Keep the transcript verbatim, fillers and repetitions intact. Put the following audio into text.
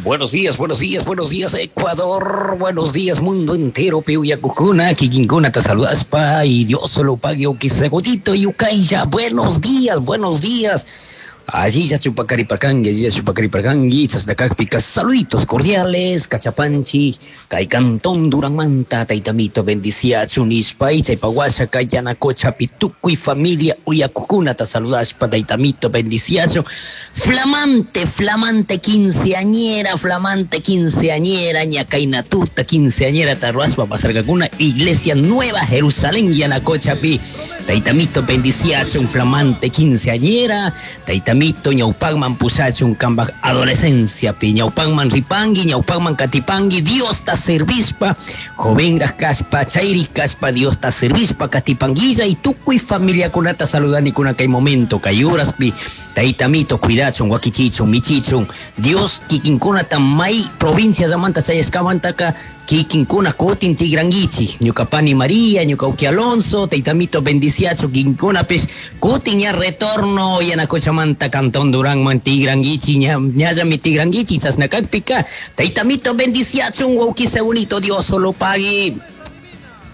Buenos días, buenos días, buenos días, Ecuador. Buenos días, mundo entero. Piuyakukuna, kikinkuna, te saludaspa y Dios solo pague o y ukaya. Buenos días, buenos días. Allí ya chupacaripacangi, allí ya chupacaripacangi, chasnacacpica, saluditos cordiales, cachapanchi, cantón Duranmanta, taitamito, bendiciachu, nishpa, chaypahuasha, kayanacocha, pitucuy, familia, uyacucuna, ta saludaspa, taitamito, bendiciachu, flamante, flamante quinceañera, flamante quinceañera, ñacainatuta, quinceañera, tarruaspa, pasargacuna, Iglesia Nueva Jerusalén, Yanacochapi, taitamito, bendiciachu, un flamante quinceañera, taitamito, ñawpakman pushachun kambaj adolescencia pi ñawpakman ripangui ñawpakman katipangui Dios ta servispa jovenraj kashpa chayrik kashpa Dios ta servispa katipanguilla y tukuy familiakunata saludanikuna kay momento kay horaspi taytamito cuidachun wakichichun michichun Dios kikinkunata may provincia llamanta chayashkamantaka kikinkuna kutin tigranguichi ñuka pani María ñuka uki Alonso taytamito bendiciachu kikinkunapish kutin ña retorno Yanacochamanta Cantón Durán tigranguichi ña ñallami tigranguichi chasna kakpika taytamito bendiciachun wawki segunito Dios solo pague.